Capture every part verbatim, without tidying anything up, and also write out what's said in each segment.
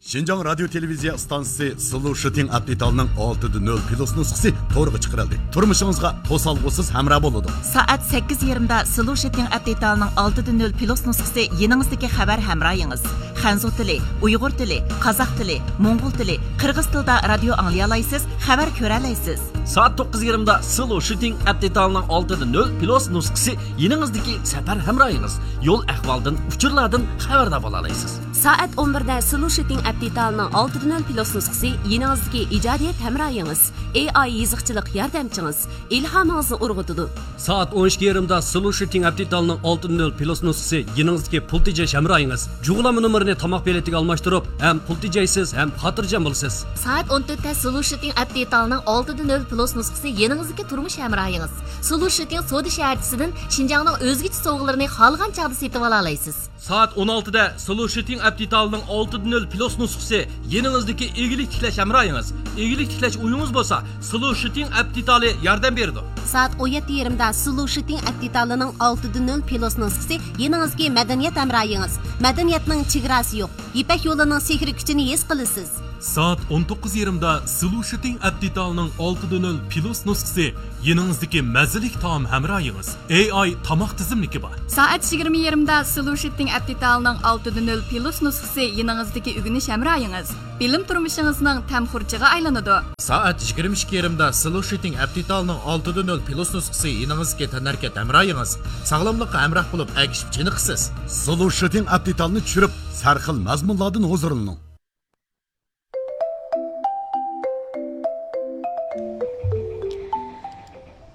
شىنجاڭ رادىيو تېلېۋىزىيە ئىستانسىسى سلوشىتىڭ ئەپ دېتالىنىڭ ئالتىدە نۆل پلۇس نۇسخىسى تورغا چىقىرىلدى. تۇرمۇشىڭىزغا توسالغۇسىز ھەمراھ بولىدۇ. سائەت سەككىز يېرىمدا سلوشىتىڭ ئەپ دېتالىنىڭ ئالتىدە نۆل پلۇس نۇسخىسى يېنىڭىزدىكى خەۋەر ھەمراھىڭىز. خەنزۇ تىلى، ئۇيغۇر تىلى، قازاق تىلى، موڭغۇل تىلى، قىرغىز تىلىدا رادىيو ئاڭلىيالايسىز، خەۋەر كۆرەلەيسىز. سائەت توققۇز يېرىمدا سلوشىتىڭ ئەپ دېتالىنىڭ ئالتىدە نۆل پلۇس نۇسخىسى يېنىڭىزدىكى سەپەر ھەمراھىڭىز. يول ئەھۋالدىن، ئۇچۇرلاردىن خەۋەردار بولالايسىز. سائەت ئون بىردە سلوشىتىڭ ئەپ دېتالىنىڭ ئالتىدە نۆل پلۇس نۇسخىسى يېنىڭىزدىكى ئىجادىيەت ھەمراھىڭىز، ئېي ئاي يېزىقچىلىق ياردەمچىڭىز، ئىلھامىڭىزنى ئۇرغۇتىدۇ. سائەت ئون ئىككى يېرىمدا سلوشىتىڭ ئەپ دېتالىنىڭ ئالتىدە نۆل پلۇس نۇسخىسى يېنىڭىزدىكى پۇل تېجەش ھەمراھىڭىز. جۇغلانما نومۇرىنى تاماق بېلىتىگە ئالماشتۇرۇپ، ھەم پۇل تېجەيسىز، ھەم خاتىرجەم بولىسىز. سائەت ئون تۆتتە سلوشىتىڭ ئەپ دېتالىنىڭ ئالتىدە نۆل پلۇس نۇسخىسى يېنىڭىزدىكى تۇرمۇش ھەمراھىڭىز. سلوشىتىڭ سودا شەھەرچىسىدىن شىنجاڭنىڭ ئۆزگىچە سوۋغىلىرىنى خالىغان چاغدا سېتىۋالالايسىز. سائەت ئون ئالتىدە سلوشىتىڭ ئەپ دېتالىنىڭ ئالتىدە نۆل پلۇس نۇسخىسى يېنىڭىزدىكى ئىگىلىك تىكلەش ھەمراھىڭىز. ئىگىلىك تىكلەش ئويىڭىز بولسا، سلوشىتىڭ ئەپ دېتالى ياردەم بېرىدۇ. سائەت ئون يەتتە يېرىمدا سلوشىتىڭ ئەپ دېتالىنىڭ ئالتىدە نۆل پلۇس نۇسخىسى يېنىڭىزدىكى مەدەنىيەت ھەمراھىڭىز. مەدەنىيەتنىڭ چېگراسى يوق. يىپەك يولىنىڭ سېھرىي كۈچىنى ھېس قىلىسىز. سائەت ئون توققۇز يېرىمدا سلوشىتىڭ ئەپ دېتالىنىڭ ئالتىدە نۆل پلۇس نۇسخىسى يېنىڭىزدىكى مەززىلىك تائام ھەمراھىڭىز. ئېي ئاي تاماق تىزىملىكى بار. سائەت يىگىرمە يېرىمدا سلوشىتىڭ ئەپ دېتالىنىڭ ئالتىدە نۆل پلۇس نۇسخىسى يېنىڭىزدىكى ئۆگىنىش ھەمراھىڭىز. بىلىم تۇرمۇشىڭىزنىڭ تەم خۇرجىغا ئايلىنىدۇ. سائەت يىگىرمە ئىككى يېرىمدا سلوشىتىڭ ئەپ دېتالىنىڭ ئالتىدە نۆل پلۇس نۇسخىسى يېنىڭىزدىكى تەنھەرىكەت ھەمراھىڭىز. ساغلاملىققا ھەمراھ بولۇپ، ئەگىشىپ چېنىقىسىز. سلوشىتىڭ ئەپ دېتالىنى چۈشۈرۈپ، سەرخىل مەزمۇنلاردىن ھۇزۇرلىنىڭ.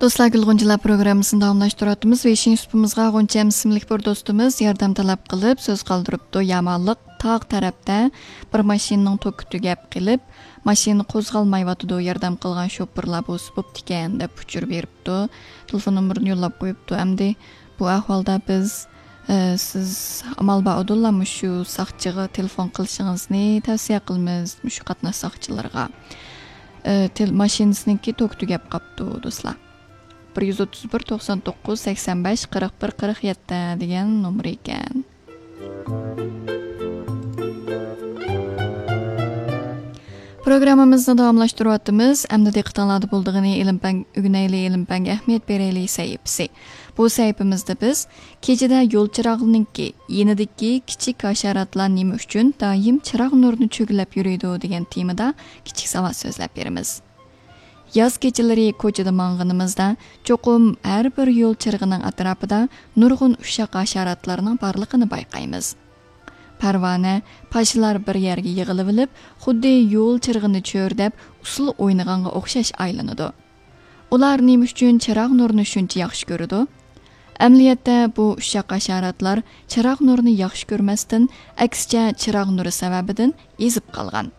دوستلار، گۈل غۇنچىلار پروگراممىسىنى داۋاملاشتۇرۇۋاتىمىز. ۋېيشىن سۇپىمىزغا غۇنچەم ئىسىملىك بىر دوستىمىز ياردەم تەلەپ قىلىپ سۆز قالدۇرۇپتۇ. يامانلىق تاغ تەرەپتە بىر ماشىنىنىڭ توكى تۈگەپ قېلىپ، ماشىنا قوزغالمايۋاتىدۇ، ياردەم قىلغان شوپۇرلار بولسا بوپتىكەن، دەپ ئۇچۇر بېرىپتۇ. تېلېفون نومۇرىنى يوللاپ قويۇپتۇ. ئەمدى بۇ ئەھۋالدا بىز، ئە، سىز ئامال بار ئۇدۇللا مۇشۇ ساقچىغا تېلېفون قىلىشىڭىزنى تەۋسىيە قىلىمىز، مۇشۇ قاتناش ساقچىلىرىغا. ئە، تېل-، ماشىنىسىنىڭكى توكى تۈگەپ قاپتۇ، دوستلار. بىر يۈز ئوتتۇز بىر، توقسان توققۇز، سەكسەن بەش، قىرىق بىر، قىرىق يەتتە دېگەن نومۇرى ئىكەن. پروگراممىمىزنى داۋاملاشتۇرۇۋاتىمىز. ئەمدى دىققىتىڭلاردا بولىدىغىنى ئىلىم پەن ئۆگىنەيلى، ئىلىم پەنگە ئەھمىيەت بېرەيلى سەھىپىسى. بۇ سەھىپىمىزدە بىز كېچىدە يول چىراغنىڭكى يېنىدىكى كىچىك ھاشاراتلار نېمە ئۈچۈن دائىم چىراغ نۇرىنى چۆگىلەپ يۈرىدۇ دېگەن تېمىدا كىچىك ساۋات سۆزلەپ بېرىمىز. ياز كېچىلىرى كوچىدا ماڭغىنىمىزدا، چوقۇم ھەر بىر يول چىرىغىنىڭ ئەتراپىدا نۇرغۇن ئۇششاق ھاشاراتلارنىڭ بارلىقىنى بايقايمىز. پەرۋانە، پاشىلار بىر يەرگە يىغىلىۋېلىپ، خۇددى يول چىرىغىنى چۆرىدەپ، ئۇسسۇل ئوينىغانغا ئوخشاش ئايلىنىدۇ. ئۇلار نېمە ئۈچۈن چىراغ نۇرىنى شۇنچە ياخشى كۆرىدۇ؟ ئەمەلىيەتتە، بۇ ئۇششاق ھاشاراتلار چىراغ نۇرىنى ياخشى كۆرمەستىن، ئەكسىچە، چىراغ نۇرى سەۋەبىدىن ئېزىپ قالغان.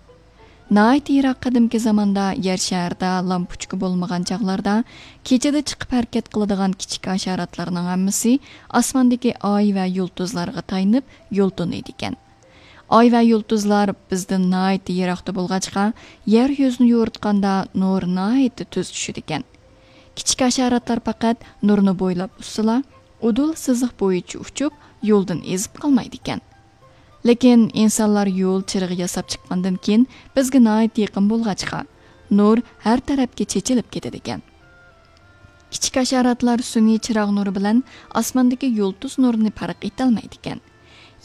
ناھايىتى يىراق قەدىمكى زاماندا يەر شارىدا لامپۇچكا بولمىغان چاغلاردا، كېچىدە چىقىپ ھەرىكەت قىلىدىغان كىچىك ھاشاراتلارنىڭ ھەممىسى ئاسماندىكى ئاي ۋە يۇلتۇزلارغا تايىنىپ يول تونۇيدىكەن. ئاي ۋە يۇلتۇزلار بىزدىن ناھايىتى يىراقتا بولغاچقا، يەر يۈزىنى يورۇتقاندا نۇر ناھايىتى تېز چۈشىدىكەن. كىچىك ھاشاراتلار پەقەت نۇرنى بويلاپ ئۇسسىلا، ئۇدۇل سىزىق بويىچە ئۇچۇپ، يولدىن ئېزىپ قالمايدىكەن. لېكىن ئىنسانلار يول چىرىغى ياساپ چىققاندىن كېيىن، بىزگە ناھايىتى يېقىن بولغاچقا، نۇر ھەر تەرەپكە چېچىلىپ كېتىدىكەن. كىچىك ھاشاراتلار سۈنئىي چىراغ نۇرى بىلەن ئاسماندىكى يۇلتۇز نۇرىنى پەرق ئېتەلمەيدىكەن.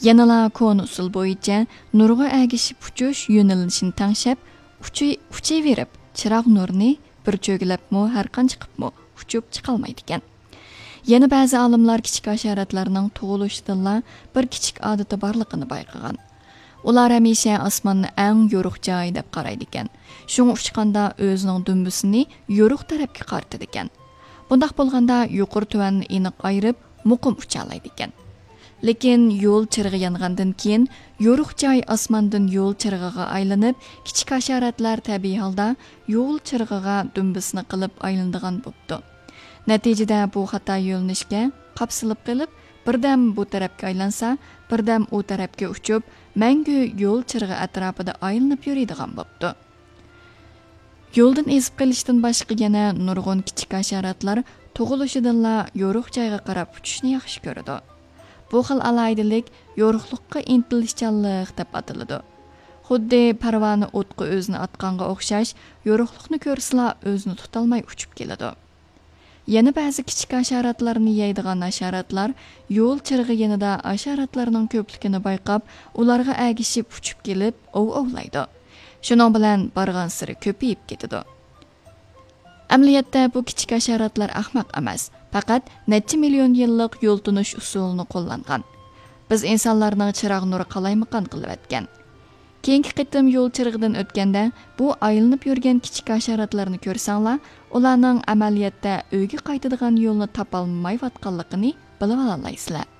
يەنىلا كونا ئۇسۇل بويىچە نۇرغا ئەگىشىپ ئۇچۇش يۆنىلىشىنى تەڭشەپ، ئۇچۇي-، ئۇچۇۋېرىپ، چىراغ نۇرىنى بىر چۆگىلەپمۇ، ھەرقانچە قىپمۇ ئۇچۇپ چىقالمايدىكەن. يەنە بەزى ئالىملار كىچىك ھاشاراتلارنىڭ تۇغۇلۇشىدىنلا بىر كىچىك ئادىتى بارلىقىنى بايقىغان. ئۇلار ھەمىشە ئاسماننى ئەڭ يورۇق جاي دەپ قارايدىكەن. شۇڭا ئۇچقاندا ئۆزىنىڭ دۈمبىسىنى يورۇق تەرەپكە قارىتىدىكەن. بۇنداق بولغاندا يۇقىرى تۆۋەننى ئېنىق ئايرىپ، مۇقىم ئۇچالايدىكەن. لېكىن يول چىرىغى يانغاندىن كېيىن، يورۇق جاي ئاسماندىن يول چىرىغىغا ئايلىنىپ، كىچىك ھاشاراتلار تەبىئىي ھالدا يول چىرىغىغا دۈمبىسىنى قىلىپ ئايلىنىدىغان بوپتۇ. نەتىجىدە بۇ خاتا يۆنىلىشكە قاپسىلىپ قېلىپ، بىردەم بۇ تەرەپكە ئايلانسا، بىردەم ئۇ تەرەپكە ئۇچۇپ، مەڭگۈ يول چىرىغى ئەتراپىدا ئايلىنىپ يۈرىدىغان بوپتۇ. يولدىن ئېزىپ قېلىشتىن باشقا يەنە نۇرغۇن كىچىك ھاشاراتلار تۇغۇلۇشىدىنلا يورۇق جايغا قاراپ ئۇچۇشنى ياخشى كۆرىدۇ. بۇ خىل ئالاھىدىلىك يورۇقلۇققا ئىنتىلىشچانلىق دەپ ئاتىلىدۇ. خۇددى پەرۋانە ئوتقا ئۆزىنى ئاتقانغا ئوخشاش، يورۇقلۇقنى كۆرسىلا ئۆزىنى تۇتالماي ئۇچۇپ كېلىدۇ. يەنە بەزى كىچىك ھاشاراتلارنى يەيدىغان ھاشاراتلار يول چىرىغى يېنىدا ھاشاراتلارنىڭ كۆپلۈكىنى بايقاپ، ئۇلارغا ئەگىشىپ ئۇچۇپ كېلىپ ئوۋ ئوۋلايدۇ. شۇنىڭ بىلەن بارغانسېرى كۆپىيىپ كېتىدۇ. ئەمەلىيەتتە بۇ كىچىك ھاشاراتلار ئەخمەق ئەمەس، پەقەت نەچچە مىليون يىللىق يول تونۇش ئۇسۇلىنى قوللانغان. بىز ئىنسانلارنىڭ چىراغ نۇرى قالايمىقان قىلىۋەتكەن. كېيىنكى قېتىم يول چىرىغىدىن ئۆتكەندە، بۇ ئايلىنىپ يۈرگەن كىچىك ھاشاراتلارنى كۆرسەڭلار، ئۇلارنىڭ ئەمەلىيەتتە ئۆيگە قايتىدىغان يولنى تاپالمايۋاتقانلىقىنى بىلىۋالالايسىلەر.